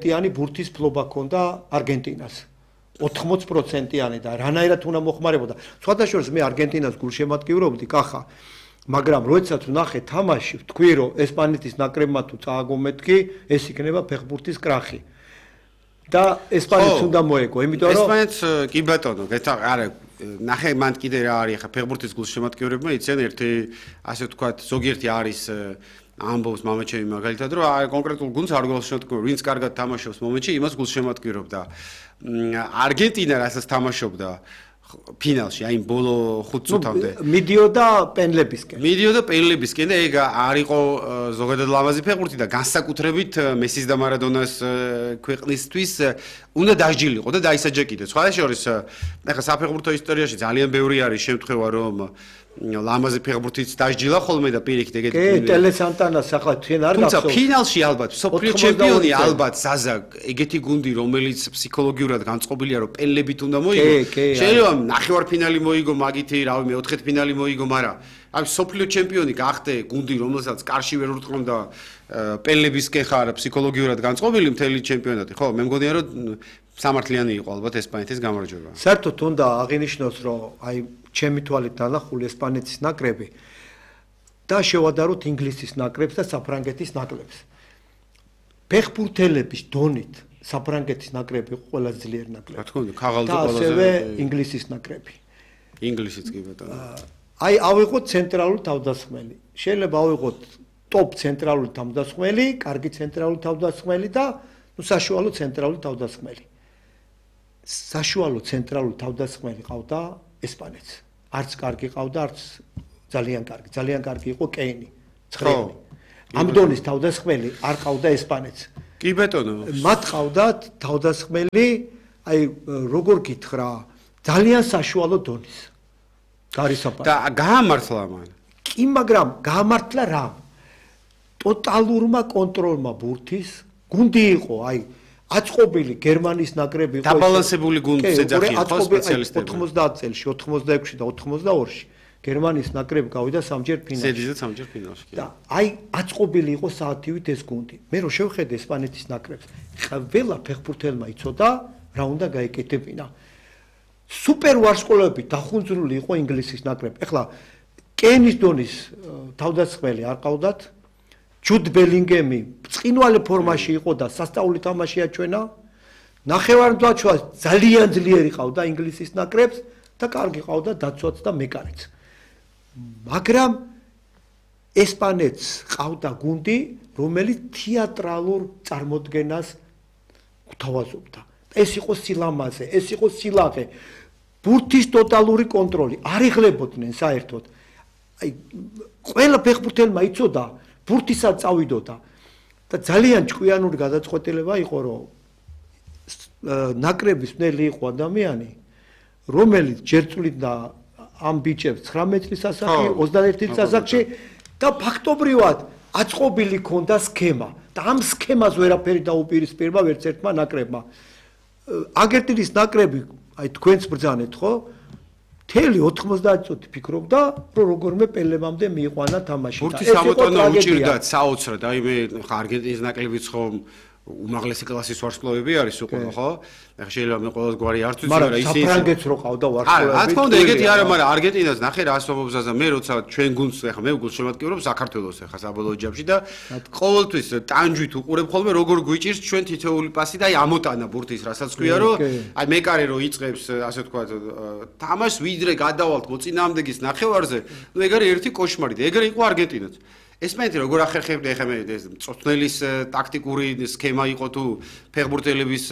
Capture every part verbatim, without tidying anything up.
ტიანი ბურთის ფლობა ქონდა არგენტინას. ოთხმოცი პროცენტიანი და რანაირად უნდა მოხმარებოდა. სხვადასხვა მე არგენტინას გულშემატკივრობდი, კახა. მაგრამ როდესაც ვნახე თამაში, ვთქვი რომ ესპანეთის ნაკრებმა თუ წააგომეთკი, ეს იქნება ფეხბურთის კრახი. და ესპანეთს უნდა მოეგო, იმიტომ რომ ესპანეთს კი ბატონო, არა, ნახე მან კიდე რა არის ხა ფეხბურთის გულშემატკივრებმა იციან ერთი ასე ვთქვათ, ზოგიერთი არის ამბობს მამაჩემი მაგალითად რომ აი კონკრეტულ გუნდს არ გულშემატკივრობ, ვინც კარგად თამაშობს მომენტში, იმას გულშემატკივრობდა. არგენტინა რასაც თამაშობდა ფინალში, აი ბოლო ხუთ წუთამდე. მიდიოდა პენლებისკენ. მიდიოდა პენლებისკენ და ეგ არ იყო ზოგადად ლამაზი ფეხბურთი და განსაკუთრებით მესის და მარადონას ქვეყნისთვის უნდა დასჯილიყო და დაისაჯა კიდე. სხვა შორის, ეხლა საფეხბურთო ისტორიაში ძალიან ბევრი არის შემთხვევა, რომ ლამაზი ფეხბურთიც დასჯილა ხოლმე და პირიქით ეგეთი. კი, ტელესანტანას ახლა თქვენ არ გახსოვთ. თუმცა ფინალში ალბათ სოფლიო ჩემპიონი ალბათ ზაზა ეგეთი გუნდი რომელიც ფსიქოლოგიურად განწყობილია რომ პენლებით უნდა მოიგო. შეიძლება ნახევარფინალი მოიგო მაგითი, რავი, მეოთხეთ ფინალი მოიგო, მაგრამ აი სოფლიო ჩემპიონი გახდე გუნდი რომელსაც კარში ვერ ურტყმდა პენლებისკენ ხარ ფსიქოლოგიურად განწყობილი მთელი ჩემპიონატი. ხო, მე მგონია რომ სამართლიანი იყო ალბათ ესპანეთის გამარჯვება. საერთოდ უნდა აღინიშნოს რომ აი ჩემი თვალით დანახული ესპანეთის ნაკრები და შევადაროთ ინგლისის ნაკრებს და საფრანგეთის ნაკრებს. ფეხბურთელების დონით საფრანგეთის ნაკრები იყო ყველაზე ძლიერი ნაკრები. რა თქმა უნდა, ქაღალდი ყველაზე და ასევე ინგლისის ნაკრები. ინგლისიც კი ბატონო. აი ავიღოთ ცენტრალური თავდასხმელი. შეიძლება ავიღოთ ტოპ ცენტრალური თავდასხმელი, კარგი ცენტრალური თავდასხმელი და ნუ საშუალო ცენტრალური თავდასხმელი. საშუალო ცენტრალური თავდასხმელი ყავდა ესპანეთს. არც კარგი ყავდა, არც ძალიან კარგი. ძალიან კარგი იყო კეინი, ცხრილი. ამ დონის თავდასხმელი არ ყავდა ესპანეთს. კი ბატონო. მათ ყავდათ თავდასხმელი, აი როგორ გითხრა, ძალიან საშუალო დონის. გარისაფარი. და გაამართლა მან. კი, მაგრამ გაამართლა რა? ტოტალურმა კონტროლმა ბურთის გუნდი იყო, აი აწყობილი გერმანიის ნაკრები იყო. დაბალანსებული გუნდს ეძახიან ხო სპეციალისტები. ოთხმოცდაათ წელში, ოთხმოცდაექვსში და ოთხმოცდაორში გერმანიის ნაკრები გავიდა სამჯერ ფინალში. ზედიზედ სამჯერ ფინალში. და აი აწყობილი იყო საათივით ეს გუნდი. მე რო შევხედე ესპანეთის ნაკრებს, ყველა ფეხბურთელმა იცოდა რა უნდა გაეკეთებინა. სუპერ ვარსკვლავებით დახუნძრული იყო ინგლისის ნაკრები. ეხლა კენის დონის თავდასხმელი არ ყავდათ. ჯუდ ბელინგემი ბრწყინვალე ფორმაში იყო და სასწაული თამაშია ჩვენა. ნახევარმცველს ძალიან ძლიერი ყავდა ინგლისის ნაკრებს და კარგი ყავდა დაცვაც და მეკარიც. მაგრამ ესპანეთს ყავდა გუნდი, რომელიც თეატრალურ წარმოდგენას გვთავაზობდა. ეს იყო სილამაზე, ეს იყო სილაღე. ბურთის ტოტალური კონტროლი, არ იღლებოდნენ საერთოდ. აი ყველა ფეხბურთელმა იცოდა ბურთისაც წავიდოდა და ძალიან ჭკვიანური გადაწყვეტილება იყო რომ ნაკრების მნელი იყო ადამიანი რომელიც ჯერ წვლიდა ამ ბიჭებს ცხრამეტი წლის ასაკში, ოცდაერთი წლის ასაკში და ფაქტობრივად აწყობილი ქონდა სქემა და ამ სქემას ვერაფერი დაუპირისპირება ვერც ერთმა ნაკრებმა. არგენტინის ნაკრები, აი თქვენც ბრძანეთ ხო? მთელი ოთხმოცდაათი წუთი ფიქრობდა, რომ როგორმე პელებამდე მიიყვანა თამაში. ბურთის ამოტანა უჭირდათ საოცრად, აი მე ხა არგენტინის ნაკრებიც ხომ უმაღლესი კლასის ვარსკვლავები არის უკვე, ხო? ეხლა შეიძლება მე ყოველს გვარი არ ვიცი, მაგრამ ისინი საფრანგეთს რო ყავდა ვარსკვლავები. არა, რა თქმა უნდა, ეგეთი არა, მაგრამ არგენტინას ნახე რა ასვამობს ზაზა, მე როცა ჩვენ გუნდს ეხლა მე გულშემატკივრობ საქართველოს ეხლა საბოლოო ჯამში და ყოველთვის ტანჯვით უყურებ ხოლმე როგორ გვიჭირს ჩვენ თითოეული პასი და აი ამოტანა ბურთის, რასაც ქვია, რომ აი მეკარე რო იწყებს ასე ვთქვათ თამაშს ვიდრე გადავალთ მოწინააღმდეგის ნახევარზე, ნუ ეგ არის ერთი კოშმარი და ეგრე იყო არგენტინაც. ესპანეთი როგორ ახერხებდა ეხლა მე ეს მწვრთნელის ტაქტიკური სქემა იყო თუ ფეხბურთელების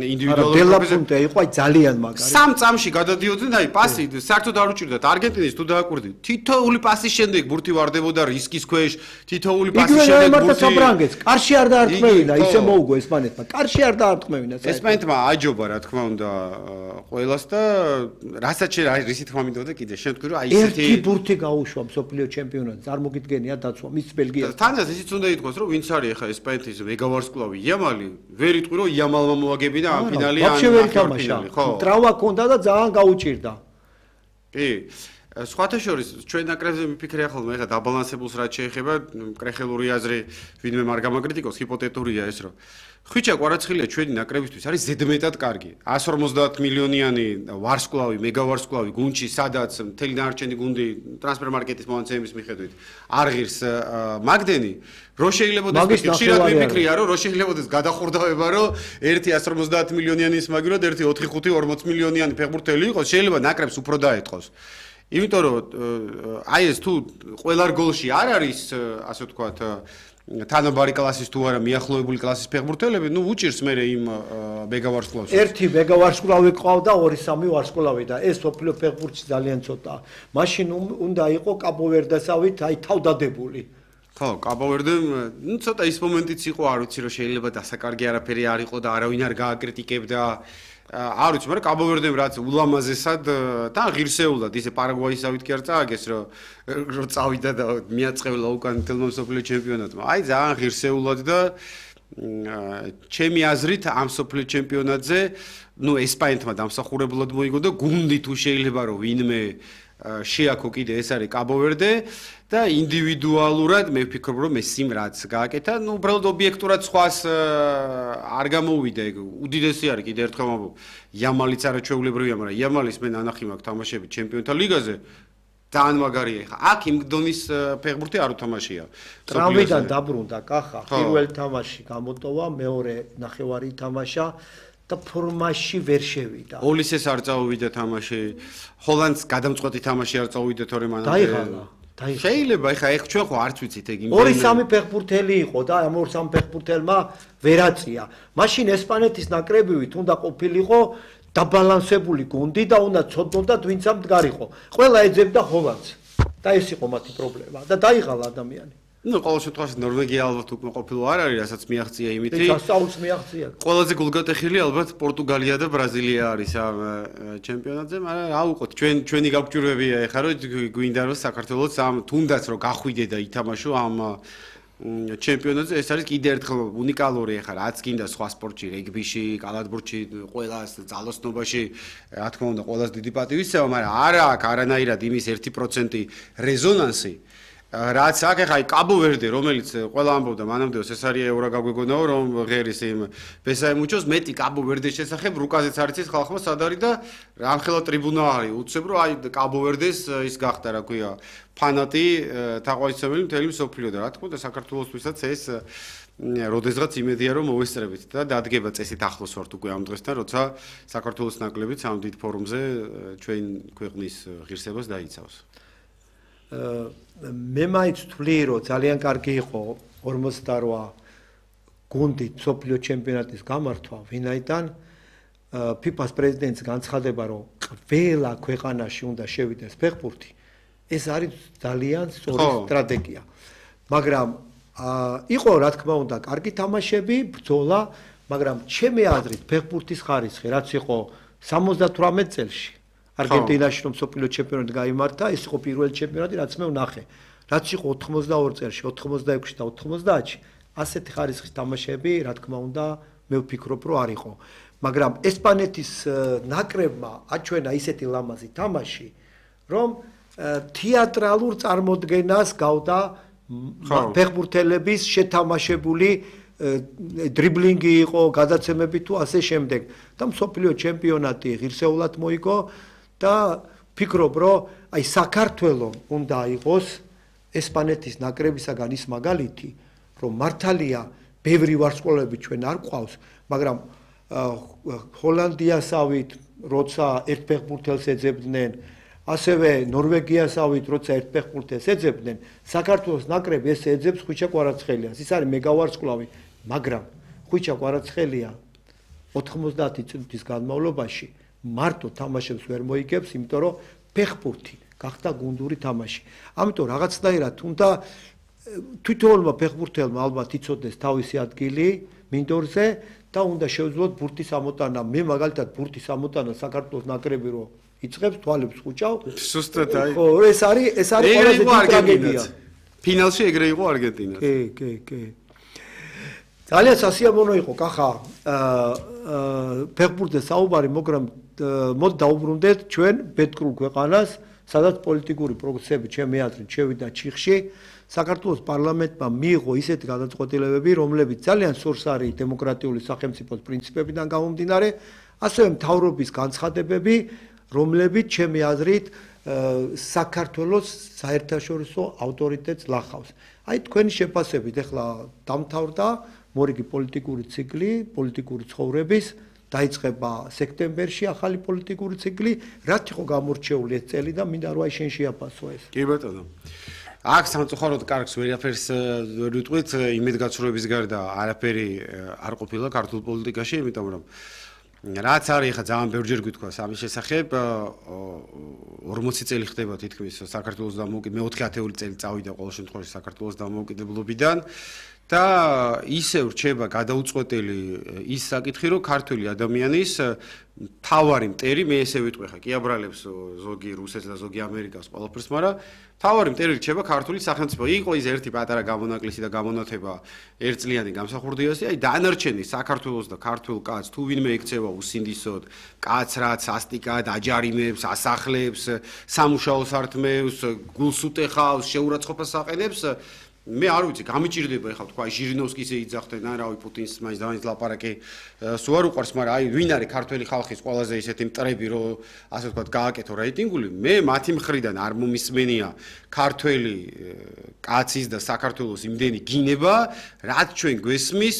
ინდივიდუალური დელაპუნტე იყო აი ძალიან მაგარი. სამ წამში გადადიოდნენ აი პასი საერთოდ არ უჭირდათ არგენტინის თუ დააკვირდით თითოეული პასის შემდეგ ბურთი ვარდებოდა რისკის ქვეშ თითოეული პასის შემდეგ ბურთი საფრანგეთს კარში არ დაარტყმევინა ისე მოუგო ესპანეთმა კარში არ დაარტყმევინა ესპანეთმა აჯობა რა თქმა უნდა ყველას და რასაც რისი თქმა მინდოდა კიდე შენ თქვი რომ აი ესეთი ერთი ბურთი გაუშვა მსოფლიო ჩემპიონატს არ მოგიდგენია დაცვა მის ბელგიას. თანაც ისიც უნდა ითქვას, რომ ვინც არის ახლა ესპანეთის მეგავარსკვლავი იამალი, ვერ იტყვი რომ იამალმა მოაგებინა ამ ფინალი ან ფინალი, ხო? ტრავმა ჰქონდა და ძალიან გაუჭირდა. კი. სხვათა შორის ჩვენ ნაკრებზე მიფიქრე ხოლმე ეხლა დაბალანსებულს რაც შეეხება კრეხელური აზრი ვინმე არ გამაკრიტიკოს ჰიპოთეტურია ეს რომ ხვიჩა კვარაცხელია ჩვენი ნაკრებისთვის არის ზედმეტად კარგი one fifty მილიონიანი ვარსკვლავი მეგავარსკვლავი გუნდში სადაც მთელი დანარჩენი გუნდი ტრანსფერ მარკეტის მონაცემის მიხედვით არ ღირს მაგდენი რო შეიძლებაოდეს ხშირად მიფიქრია რომ რო შეიძლებაოდეს გადახურდავება რომ ერთი one fifty მილიონიანი ის მაგირად ერთი four five forty მილიონიანი ფეხბურთელი იყოს შეიძლება ნაკრებს უფრო დაეთყოს იმიტომ რომ აი ეს თუ ყველა რგოლში არ არის ასე ვთქვათ თანაბარი კლასის თუ არა მიახლოებული კლასის ფეხბურთელები, ნუ უჭირს მე იმ მეგავარსკვლავს. ერთი მეგავარსკვლავი ყავდა, ორი სამი ვარსკვლავი და ეს სოფლიო ფეხბურთში ძალიან ცოტაა. მაშინ უნდა იყო კაბოვერდესავით აი თავდადებული. ხო, კაბოვერდემ, ნუ ცოტა ის მომენტიც იყო, არ ვიცი რომ შეიძლება დასაკარგი არაფერი არ იყო და არავინ არ გააკრიტიკებდა. არ ვიცი, მაგრამ კაბოვერდემ რაც ულამაზესად და ღირსეულად ისე პარაგვაისავით კი არ წააგეს, რომ რომ წავიდა და მიაწყევლა უკან თელმო სოფლიო ჩემპიონატმა. აი ძალიან ღირსეულად და ჩემი აზრით ამ სოფლიო ჩემპიონატზე, ნუ ესპანეთმა დამსახურებლად მოიგო და გუნდი თუ შეიძლება რომ ვინმე შეაქო კიდე ეს არის კაბოვერდე და ინდივიდუალურად მე ვფიქრობ რომ მესიმ რაც გააკეთა, ნუ უბრალოდ ობიექტურად სხვას არ გამოუვიდა, უდიდესი არის კიდე ერთხელ ვამბობ. იამალიც არაჩვეულებრივია, მაგრამ იამალის მე ნანახი მაქვს თამაშები ჩემპიონთა ლიგაზე. ძალიან მაგარია ხა. აქ იმ დონის ფეხბურთი არ უთამაშია. ტრავმიდან დაბრუნდა კახა, პირველ თამაში გამოტოვა, მეორე ნახევარი თამაშა და ფორმაში ვერ შევიდა. ოლისეს არ წაუვიდა თამაში. ჰოლანდს გადამწყვეტი თამაში არ წაუვიდა თორე მანამდე. დაიღალა. შეიძლება ეხა ეხ ჩვენ ხო არც ვიცით ეგ იმ ორი სამი ფეხბურთელი იყო და ამ ორ სამი ფეხბურთელმა ვერაწია. მაშინ ესპანეთის ნაკრებივით უნდა ყოფილიყო დაბალანსებული გუნდი და უნდა ცოდნოდათ ვინც ამ მდგარიყო. ყველა ეძებდა ჰოლანდს და ეს იყო მათი პრობლემა და დაიღალა ადამიანი. ნუ ყოველ შემთხვევაში ნორვეგია ალბათ უკვე ყოფილი არ არის, რასაც მიაღწია იმითი. სასწაულს მიაღწია. ყველაზე გულგატეხილი ალბათ პორტუგალია და ბრაზილია არის ამ ჩემპიონატზე, მაგრამ რა უყოთ, ჩვენ ჩვენი გაგჭირვებია ეხლა რომ გვინდა რომ საქართველოს ამ თუნდაც რომ გახვიდე და ითამაშო ამ ჩემპიონატზე, ეს არის კიდე ერთხელ უნიკალური ეხლა რაც გინდა სხვა სპორტში, რეგბიში, კალათბურთში, ყველას ძალოსნობაში, რა თქმა უნდა, ყველას დიდი პატივისცემა, მაგრამ არა აქვს არანაირად იმის one percent რეზონანსი. რაც აქ ახლა აი კაბოვერდე რომელიც ყველა ამბობდა მანამდეოს ეს არის ევრა გაგვეგონაო რომ ღერის იმ ბესაემუჩოს მეტი კაბოვერდეს შესახებ რუკაზეც არ იცის ხალხმა სად არის და რამხელა ტრიბუნა არის უცებ რომ აი კაბოვერდეს ის გახდა რა ქვია ფანატი თაყვანისმცემელი მთელი მსოფლიო და რა თქმა უნდა საქართველოსთვისაც ეს როდესღაც იმედია რომ მოვესწრებით და დადგება წესით ახლოს ვართ უკვე ამ დღესთან როცა საქართველოს ნაკრებიც ამ დიდ ფორუმზე ჩვენ ქვეყნის ღირსებას დაიცავს მე მაინც ვთვლი რომ ძალიან კარგი იყო ორმოცდაოთხ გუნდი სოფლიო ჩემპიონატის გამართვა ვინაიდან ფიფას პრეზიდენტს განცხადება რომ ყველა ქვეყანაში უნდა შევიდეს ფეხბურთი ეს არის ძალიან სწორი სტრატეგია მაგრამ იყო რა თქმა უნდა კარგი თამაშები ბრძოლა მაგრამ ჩემი აზრით ფეხბურთის ხარისხი რაც იყო სამოცდათვრამეტ წელში არგენტინაში რომ სოფლიო ჩემპიონატი გაიმართა, ეს იყო პირველი ჩემპიონატი, რაც მე ვნახე. რაც იყო ოთხმოცდაორ წელში, ოთხმოცდაექვსში და ოთხმოცდაათში, ასეთი ხარისხის თამაშები, რა თქმა უნდა, მე ვფიქრობ, რომ არ იყო. მაგრამ ესპანეთის ნაკრებმა აჩვენა ისეთი ლამაზი თამაში, რომ თეატრალურ წარმოდგენას გავდა ფეხბურთელების შეთამაშებული დრიბლინგი იყო, გადაცემები თუ ასე შემდეგ. და მსოფლიო ჩემპიონატი ღირსეულად მოიგო და ფიქრობ, რომ აი საქართველოს უნდა იყოს ესპანეთის ნაკრებისაგან ის მაგალითი, რომ მართალია ბევრი ვარსკვლავები ჩვენ არ ყავს, მაგრამ ჰოლანდიასავით, როცა ერთ ფეხბურთელს ეძებდნენ, ასევე ნორვეგიასავით, როცა ერთ ფეხბურთელს ეძებდნენ, საქართველოს ნაკრები ეს ეძებს ხვიჩა კვარაცხელიას. ის არის მეგავარსკვლავი, მაგრამ ხვიჩა კვარაცხელია ოთხმოცდაათი წუთის განმავლობაში მარტო თამაშებს ვერ მოიგებს, იმიტომ რომ ფეხბურთი გახდა გუნდური თამაში. ამიტომ რაღაცნაირად უნდა თვითონმა ფეხბურთელმა ალბათ იცოდეს თავისი ადგილი მინდორზე და უნდა შევძლოთ ბურთის ამოტანა. მე მაგალითად ბურთის ამოტანა საქართველოს ნაკრები რო იწყებს თვალებს ხუჭავ. სუსტად აი. ხო, ეს არის ეს არის ყველაზე დიდი ტრაგედია. ფინალში ეგრე იყო არგენტინაც. კი, კი, კი. ძალიან სასიამოვნო იყო კახა ფეხბურთზე საუბარი, მაგრამ მოდ დაუბრუნდეთ ჩვენ ბედკრულ ქვეყანას სადაც პოლიტიკური პროცესები ჩემი აზრით შევიდა ჩიხში, საქართველოს პარლამენტმა მიიღო ისეთი გადაწყვეტილებები, რომლებიც ძალიან სურს არის დემოკრატიული სახელმწიფოს პრინციპებიდან გამომდინარე, ასევე მთავრობის განცხადებები, რომლებიც ჩემი აზრით საქართველოს საერთაშორისო ავტორიტეტს ლახავს. აი თქვენი შეფასებით ახლა დამთავრდა მორიგი პოლიტიკური ციკლი, პოლიტიკური ცხოვრების დაიწყება სექტემბერში ახალი პოლიტიკური ციკლი, რაც იყო გამორჩეული ეს წელი და მინდა რომ აი შენ შეაფასო ეს. კი ბატონო. აქ სამწუხაროდ კარგს ვერაფერს ვერ ვიტყვით, იმედგაცრუების გარდა არაფერი არ ყოფილა ქართულ პოლიტიკაში, იმიტომ რომ რაც არის ხა ძალიან ბევრჯერ გითქვა სამის შესახებ, ორმოცი წელი ხდება თითქმის საქართველოს დამოუკიდებლობიდან, მეოთხე ათეული წელი წავიდა ყოველ შემთხვევაში საქართველოს დამოუკიდებლობიდან და ისევ რჩება გადაუწყვეტელი ის საკითხი, რომ ქართული ადამიანის თავარი მტერი, მე ესე ვიტყვი ხა, კი აბრალებს ზოგი რუსეთს და ზოგი ამერიკას ყველაფერს, მაგრამ თავარი მტერი რჩება ქართული სახელმწიფო. იყო ის ერთი პატარა გამონაკლისი და გამონათება ერთწლიანი გამსახურდიასი, აი დანარჩენი საქართველოს და ქართულ კაცს თუ ვინმე ექცევა უსინდისოდ, კაცრად, სასტიკად, აჯარიმებს, ასახლებს, სამუშაო სართმევს, გულს უტეხავს, შეურაცხყოფას აყენებს, მე არ ვიცი, გამიჭირდება ეხლა თქვა ჟირინოვსკის ეიძახდნენ, ან რავი პუტინს მაინც დავინც ლაპარაკი სულ არ უყვარს, მაგრამ აი ვინ არის ქართველი ხალხის ყველაზე ისეთი მტრები, რომ ასე ვთქვათ, გააკეთო რეიტინგული, მე მათი მხრიდან არ მომისმენია ქართველი კაცის და საქართველოს იმდენი გინება, რაც ჩვენ გვესმის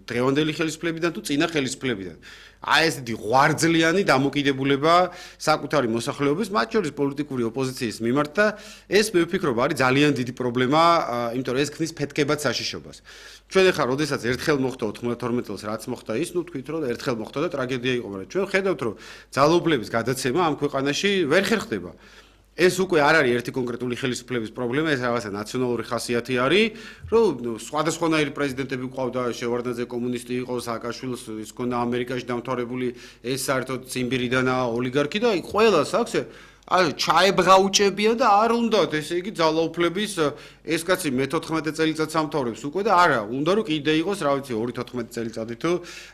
დღევანდელი ხელისუფლებიდან თუ წინა ხელისუფლებიდან. აი ესეთი ღვარძლიანი დამოკიდებულება საკუთარი მოსახლეობის, მათ შორის პოლიტიკური ოპოზიციის მიმართ და ეს მე ვფიქრობ არის ძალიან დიდი პრობლემა, იმიტომ რომ ეს ქმნის ფეთქებად საშიშობას. ჩვენ ახლა როდესაც ერთხელ მოხდა ოთხმოცდათორმეტ წელს რაც მოხდა ის, ნუ თქვით რომ ერთხელ მოხდა და ტრაგედია იყო, მაგრამ ჩვენ ხედავთ რომ ძალაუფლების გადაცემა ამ ქვეყანაში ვერ ხერხდება. ეს უკვე არ არის ერთი კონკრეტული ხელისუფლების პრობლემა, ეს რაღაცა ნაციონალური ხასიათი არის, რომ სხვადასხვანაირი პრეზიდენტები ყავდა, შევარდნაძე კომუნისტი იყო, სააკაშვილის ის ქონდა ამერიკაში დამთავრებული, ეს საერთოდ ციმბირიდანაა ოლიგარქი და აი ყველას აქვს აი ჩაებღაუჭებიან და არ უნდათ, ესე იგი ძალაუფლების ეს კაცი მეთოთხმეტე წელიწადს ამთავრებს უკვე და არა, უნდა რომ კიდე იყოს, რა ვიცი, ორი თოთხმეტი წელიწადი თუ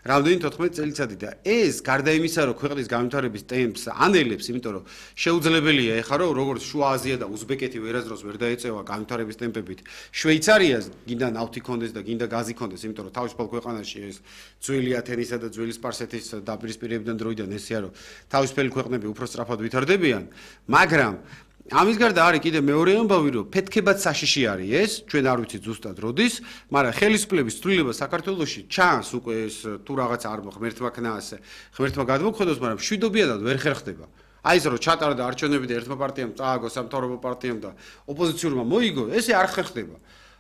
რამდენი თოთხმეტი წელიწადი და ეს გარდა იმისა, რომ ქვეყნის განვითარების ტემპს ანელებს, იმიტომ რომ შეუძლებელია ეხლა რომ როგორც შუა აზია და უზბეკეთი ვერასდროს ვერ დაეწევა განვითარების ტემპებით, შვეიცარიას გინდა ნავთი კონდეს და გინდა გაზი კონდეს, იმიტომ რომ თავისუფალ ქვეყანაში ეს ძველი ათენისა და ძველი სპარსეთის დაპირისპირებიდან დროიდან ესეა რომ თავისუფალი ქვეყნები უფრო სწრაფად ვითარდებიან. მაგრამ ამის გარდა არის კიდე მეორე ამბავი, რომ ფეთქებად საშიში არის ეს, ჩვენ არ ვიცით ზუსტად როდის, მაგრამ ხელისუფლების ცვლილება საქართველოში ჩანს უკვე ეს თუ რაღაც არ ღმერთმა ქნას, ღმერთმა გადმოგვხედოს, მაგრამ მშვიდობიანად ვერ ხერხდება. აი ეს რომ ჩატარდა არჩევნები და ერთმა პარტიამ წააგო სამთავრობო პარტიამ და ოპოზიციურმა მოიგო, ესე არ ხერხდება.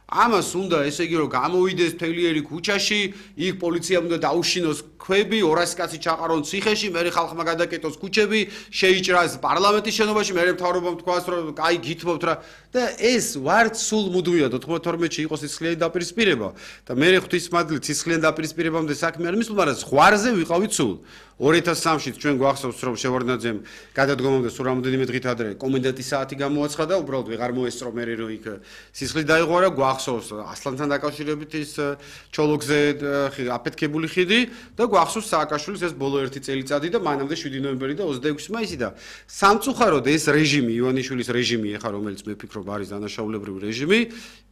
ამას უნდა ესე იგი რომ გამოვიდეს თელიერი ქუჩაში, იქ პოლიციამ უნდა დაუშინოს ქვები, ორასი კაცი ჩაყარონ ციხეში, მერე ხალხმა გადაკეტოს ქუჩები, შეიჭრას პარლამენტის შენობაში, მერე მთავრობამ თქვას რომ აი გითმობთ რა და ეს ვართ სულ მუდმივად ოთხმოცდათორმეტში იყოს სისხლიანი დაპირისპირება და მერე ღვთისმადლით სისხლიანი დაპირისპირებამდე საქმე არ მისულ, მაგრამ ზღვარზე ვიყავით სულ. ორი ათას სამში ჩვენ გვახსოვს რომ შევარდნაძემ გადადგომამდე სულ რამდენიმე დღით ადრე კომენდანტის საათი გამოაცხადა, უბრალოდ ვეღარ მოესწრო მერე რომ იქ სისხლი დაიღვარა, გვახსოვს ასლანთან დაკავშირებით ის ჩოლოგზე აფეთქებული ხიდი და გვახსოვს სააკაშვილის ეს ბოლო ერთი წელიწადი და მანამდე შვიდი ნოემბერი და ოცდაექვსი მაისი და სამწუხაროდ ეს რეჟიმი, ივანიშვილის რეჟიმი ეხა რომელიც მე ვფიქრობ არის დანაშაულებრივი რეჟიმი,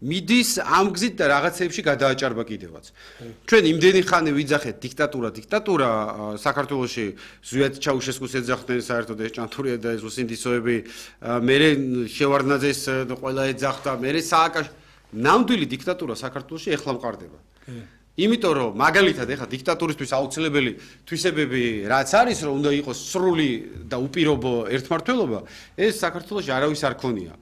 მიდის ამ გზით და რაღაცეებში გადააჭარბა კიდევაც. ჩვენ იმდენი ხანი ვიძახეთ დიქტატურა, დიქტატურა საქართველოში ზვიად ჩაუშესკუს ეძახდნენ საერთოდ ეს ჭანტურია და ეს უსინდისოები, მერე შევარდნაძეს ყველა ეძახდა, მერე სააკაშ ნამდვილი დიქტატურა საქართველოში ეხლა მყარდება. იმიტომ რომ მაგალითად ეხლა დიქტატურისთვის აუცილებელი თვისებები რაც არის, რომ უნდა იყოს სრული და უპირობო ერთმართველობა, ეს საქართველოში არავის არ ქონია.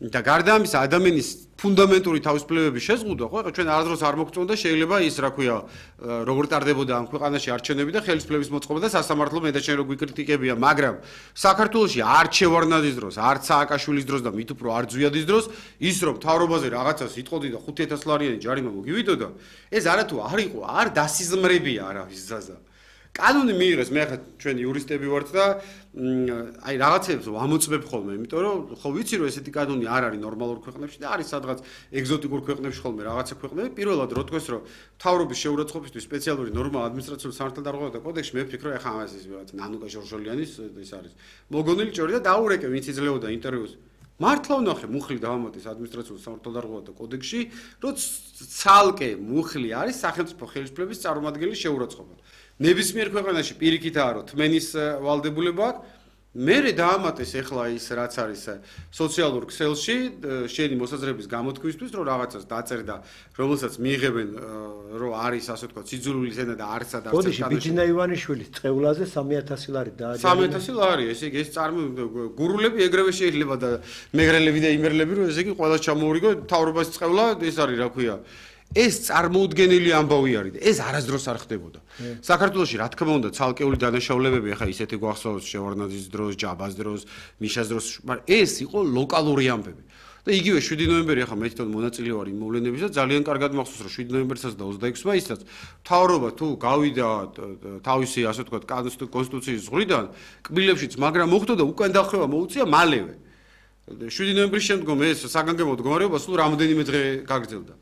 და გარდა ამისა ადამიანის ფუნდამენტური თავისუფლებების შეზღუდვა, ხო, ჩვენ არასდროს არ მოგწონდა შეიძლება ის, რა ქვია, როგორ ტარდებოდა ამ ქვეყანაში არჩევნები და ხელისუფლების მოწყობა და სასამართლო მე და შენ რო გვიკრიტიკებია, მაგრამ საქართველოში არც შევარდნაძის დროს, არც სააკაშვილის დროს და მით უფრო არ ძვიადის დროს, ის რომ მთავრობაზე რაღაცას იტყოდი და ხუთი ათას ლარიანი ჯარიმა მოგივიდოდა, ეს არათუ არ იყო, არ დასიზმრებია არავის ზაზა. კანონი მიიღეს, მე ახლა ჩვენ იურისტები ვართ და აი რაღაცებს ვამოწმებ ხოლმე, იმიტომ რომ ხო ვიცი რომ ესეთი კანონი არ არის ნორმალურ ქვეყნებში და არის სადღაც ეგზოტიკურ ქვეყნებში ხოლმე რაღაცა ქვეყნები. პირველად რო თქვეს რომ მთავრობის შეურაცხყოფისთვის სპეციალური ნორმა ადმინისტრაციული სამართალდარღვევათა კოდექსში მე ვფიქრობ ახლა ამას ის ვიღაც ნანუკა ჟორჟოლიანის ის არის მოგონილი ჭორი და დაურეკე ვინც იძლეოდა ინტერვიუს. მართლა ვნახე მუხლი დავამატეს ადმინისტრაციული სამართალდარღვევათა კოდექსში, რომ ცალკე მუხლი არის სახელმწიფო ხელისუფლების წარმომადგენლის შეურაცხყოფა. ნებისმიერ ქვეყანაში პირიქითაა რომ თმენის ვალდებულება აქვს. მერე დაამატეს ახლა ის რაც არის სოციალურ ქსელში შენი მოსაზრების გამოთქვისთვის რომ რაღაცას დაწერდა რომელსაც მიიღებენ რომ არის ასე ვთქვათ სიძულვილის ენა და არც ადარც კოდეში ბიძინა ივანიშვილის წევლაზე სამი ათასი ლარი დააჯერა სამი ათასი ლარი ესე იგი ეს წარმო გურულები ეგრევე შეიძლება და მეგრელები და იმერლები რომ ესე იგი ყველა ჩამოურიგო მთავრობას წევლა ეს არის რა ქვია ეს წარმოუდგენელი ამბავი არის და ეს არასდროს არ ხდებოდა. საქართველოში რა თქმა უნდა ცალკეული დანაშაულებები ახლა ისეთი გვახსოვს შევარდნაძის დროს, ჯაბას დროს, მიშას დროს, მაგრამ ეს იყო ლოკალური ამბები. და იგივე შვიდი ნოემბერი ახლა მე თვითონ მონაწილე ვარ იმ მოვლენების და ძალიან კარგად მახსოვს რომ შვიდი ნოემბერსაც და ოცდაექვსი მაისსაც მთავრობა თუ გავიდა თავისი ასე ვთქვათ კონსტიტუციის ზღვრიდან კბილებშიც მაგრამ მოხდა და უკან დახვევა მოუწია მალევე. შვიდი ნოემბრის შემდგომ ეს საგანგებო მდგომარეობა სულ რამდენიმე დღე გაგრძელდა.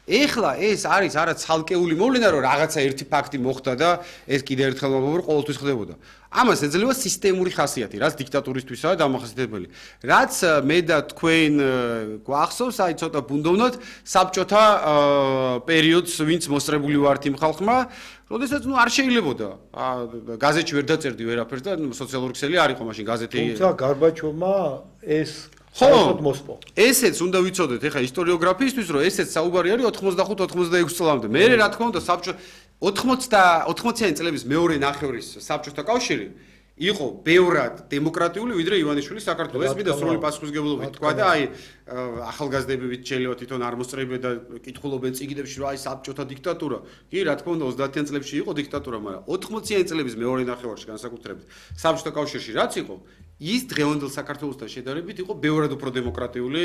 ეხლა ეს არის არა ცალკეული მოვლენა რომ რაღაცა ერთი ფაქტი მოხდა და ეს კიდე ერთხელ მოგობრ ყოველთვის ხდებოდა. ამას ეძლევა სისტემური ხასიათი, რაც დიქტატურისთვისაა დამახასიათებელი. რაც მე და თქვენ გვახსოვს, აი ცოტა ბუნდოვნად საბჭოთა პერიოდს ვინც მოსწრებული ვართ იმ ხალხმა, როდესაც ნუ არ შეიძლებოდა. გაზეთში ვერ დაწერდი ვერაფერს და სოციალური ქსელი არ იყო მაშინ გაზეთი. თუმცა გარბაჩოვმა ეს ხო, ესეც უნდა ვიცოდეთ ეხა ისტორიოგრაფიისთვის, რომ ესეც საუბარი არის ოთხმოცდახუთ ოცდაექვსი წლამდე. მე რა თქმა უნდა საბჭო ოცდაათი წლების მეორე ნახევრის საბჭოთა კავშირი იყო ბევრად დემოკრატიული ვიდრე ივანიშვილის საქართველოს. ეს მინდა სრული პასუხისმგებლობით თქვა და აი ახალგაზრდები შეიძლება თვითონ არ მოსწრებენ და კითხულობენ წიგნებში რომ აი საბჭოთა დიქტატურა. კი, რა თქმა უნდა ოცდაათიან წლებში იყო დიქტატურა, მაგრამ ოთხმოციან წლების მეორე ნახევარში განსაკუთრებით საბჭოთა კავშირში რაც იყო ის დღევანდელ საქართველოსთან შედარებით იყო ბევრად უფრო დემოკრატიული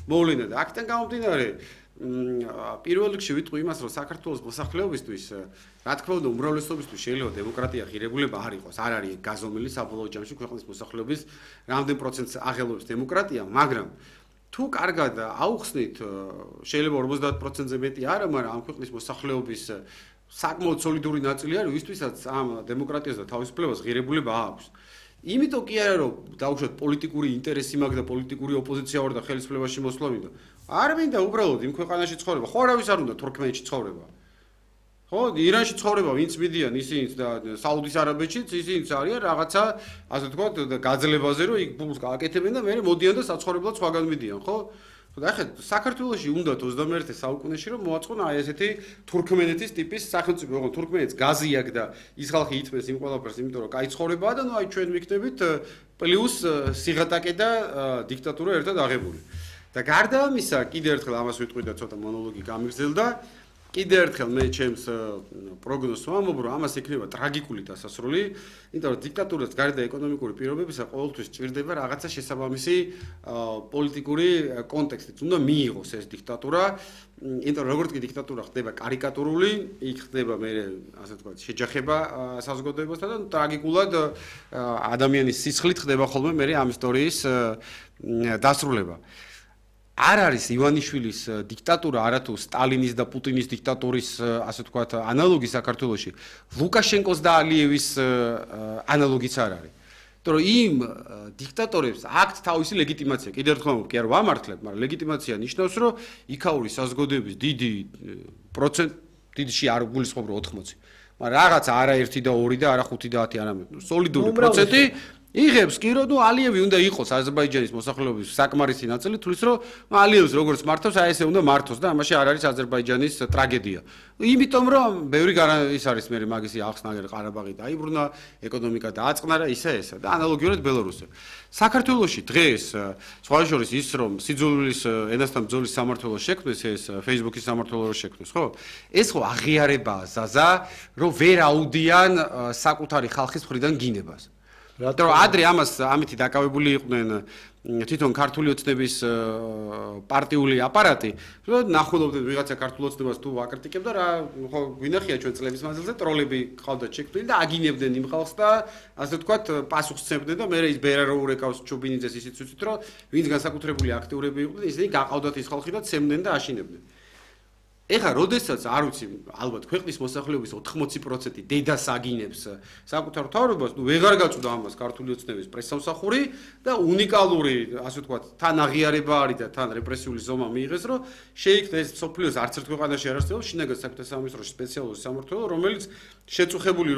მოვლენა და აქედან გამომდინარე პირველ რიგში ვიტყვი იმას რომ საქართველოს მოსახლეობისთვის რა თქმა უნდა უმრავლესობისთვის შეიძლება დემოკრატია ღირებულება არ იყოს არ არის გაზომილი საბოლოო ჯამში ქვეყნის მოსახლეობის რამდენ პროცენტს აღელვებს დემოკრატია მაგრამ თუ კარგად აუხსნით შეიძლება ორმოცდაათ პროცენტზე მეტი არა მაგრამ ამ ქვეყნის მოსახლეობის საკმაოდ სოლიდური ნაწილი არის ვისთვისაც ამ დემოკრატიას და თავისუფლებას ღირებულება აქვს იმიტომ კი არა რომ დაუშვათ პოლიტიკური ინტერესი მაქვს და პოლიტიკური ოპოზიცია ვარ და ხელისუფლებაში მოსვლა მინდა. არ მინდა უბრალოდ იმ ქვეყანაში ცხოვრება. ხო არავის არ უნდა თურქმენეთში ცხოვრება. ხო, ირანში ცხოვრება, ვინც მიდიან ისინიც და საუდის არაბეთშიც ისინიც არიან რაღაცა, ასე ვთქვათ, გაძლებაზე რომ იქ ფულს გააკეთებენ და მერე მოდიან და საცხოვრებლად სხვაგან მიდიან, ხო? და ახლა საქართველოში უნდათ ოცდამეერთე საუკუნეში რომ მოაწყონა აი ესეთი თურქმენეთის ტიპის სახელმწიფო, ოღონდ თურქმენეთს გაზი აქვს და ის ხალხი ითმეს იმ ყველაფერს, იმიტომ რომ კაი ცხოვრებაა და ნუ აი ჩვენ ვიქნებით პლუს სიღატაკე და დიქტატურა ერთად აღებული. და გარდა ამისა, კიდე ერთხელ ამას ვიტყვი და ცოტა მონოლოგი გამიგრძელდა. კიდე ერთხელ მე ჩემს პროგნოზს ვამბობ, რომ ამას ექნება ტრაგიკული დასასრული, იმიტომ რომ დიქტატურას გარდა ეკონომიკური პირობებისა ყოველთვის ჭირდება რაღაცა შესაბამისი პოლიტიკური კონტექსტიც. უნდა მიიღოს ეს დიქტატურა, იმიტომ რომ როგორც კი დიქტატურა ხდება კარიკატურული, იქ ხდება მე ასე ვთქვათ, შეჯახება საზოგადოებასთან და ტრაგიკულად ადამიანის სისხლით ხდება ხოლმე მე ამ ისტორიის დასრულება. არ არის ივანიშვილის დიქტატურა არათუ სტალინის და პუტინის დიქტატურის ასე ვთქვათ ანალოგი საქართველოში ლუკაშენკოს და ალიევის ანალოგიც არ არის. იმიტომ რომ იმ დიქტატორებს აქვთ თავისი ლეგიტიმაცია. კიდევ ერთხელ კი არ ვამართლებ, მაგრამ ლეგიტიმაცია ნიშნავს, რომ იქაური საზოგადოების დიდი პროცენტი დიდში არ გულისხმობ რომ ოთხმოცი. მაგრამ რაღაც არა ერთი და ორი და არა ხუთი და ათი არამედ სოლიდური პროცენტი იღებს კი რომ ალიევი უნდა იყოს აზერბაიჯანის მოსახლეობის საკმარისი ნაწილი თulis რომ ალიევს როგორც მართავს აი ესე უნდა მართოს და ამაში არ არის აზერბაიჯანის ტრაგედია. იმიტომ რომ ბევრი ის არის მე მაგისი ახსნაგერ ყარაბაღი დაიბრუნა, ეკონომიკა დააწყნა და ისე ესა და ანალოგიურად ბელარუსი. საქართველოში დღეს სხვა შორის ის რომ სიძულვილის ენასთან ბრძოლის სამმართველოს შექმნეს ეს Facebook-ის სამმართველოს შექმნეს, ხო? ეს ხო აღიარებაა ზაზა, რომ ვერ აუდიან საკუთარი ხალხის მხრიდან გინებას. რომ ადრე ამას ამითი დაკავებული იყვნენ თვითონ ქართული ოცნების პარტიული აპარატი, რომ ნახულობდნენ ვიღაცა ქართულ ოცნებას თუ აკრიტიკებდა რა, ხო გვინახია ჩვენ წლების მანძილზე ტროლები ყავდათ შექმნილი და აგინებდნენ იმ ხალხს და ასე ვთქვათ პასუხს სცემდნენ და მე ის ბერა რო ურეკავს ჩუბინიძეს ისიც ვიცით რომ ვინც განსაკუთრებული აქტიურები იყვნენ ისინი გაყავდათ ის ხალხი და ცემდნენ და აშინებდნენ. ეხლა როდესაც არ ვიცი ალბათ ქვეყნის მოსახლეობის ოთხმოცი პროცენტი დედას აგინებს საკუთარ თავრობას, ნუ ვეღარ გაწუდა ამას ქართული ოცნების პრესსამსახური და უნიკალური, ასე ვთქვათ, თან აღიარება არის და თან რეპრესიული ზომა მიიღეს, რომ შეიქმნა ეს სოფლიოს არც ერთ ქვეყანაში არ არსებობს შინაგან საქმეთა სამინისტროში სპეციალური სამმართველო, რომელიც შეწუხებული